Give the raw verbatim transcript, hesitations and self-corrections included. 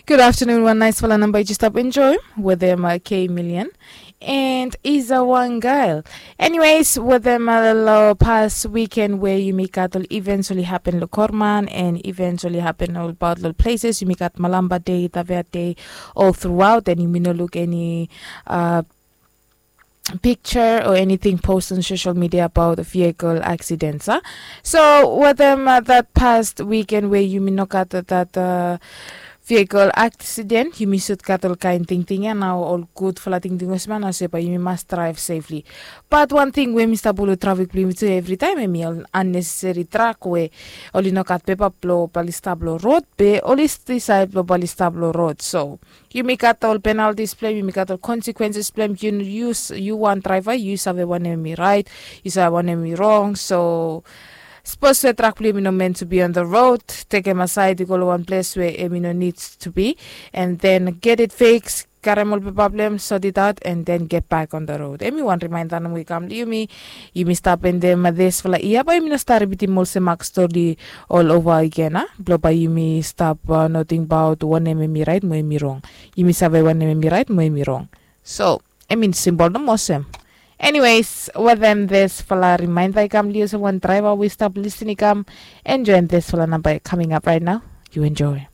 Good afternoon, wan naisfala namba yu stap enjoy wetem uh, K Million and Iza Wangail. Anyways, wetem uh, lo pas weekend we yumi gat ol events oli happen lo Korman and events oli happen ol about lo places yumi gat Malamba Day, Tavea Day, all throughout, and yumi no look any uh, picture or anything post on social media about vehicle accidents, huh? So wetem uh, that past weekend where yumi no gat that uh, vehicle accident, yumi sud gat ol kain tingting ya nao ol gudfala tingting olsem ya nao se bae yumi mas drive safely. But wan ting we mi stap pulu trafik blo yumi tu evri taem hemi ol unnecessary truck we oli no gat pepa blo bali stap lo rod be oli disaed blo bali stap lo rod. So yumi gat ol penalties blong hem, yumi gat ol consequences blong hem. Yu yu wan draiva yu save wanem hemi raet, yu save wanem hemi rong. So sapos se truck blong yumi no meant to be on the road, tekem asaed i go long wan ples we hemi no need to be, and then get it fixed, karem ol pepa blong hem, sort it out and then get back on the road. Hemi wan reminder nomo i kam long yumi. Yumi stap endem disfala yia bae yumi no stap ripitim olsem mak stori all over again, a blong bae yumi stap uh, no tingbaot wanem hemi raet mo hemi rong. Yumi save wanem hemi raet mo hemi rong. So hemi simbol nomo olsem. Anyways, wetem disfala reminder i kam long yu olsem wan draiva we i stap lisin i kam, enjoem disfala namba coming up right now. You enjoy.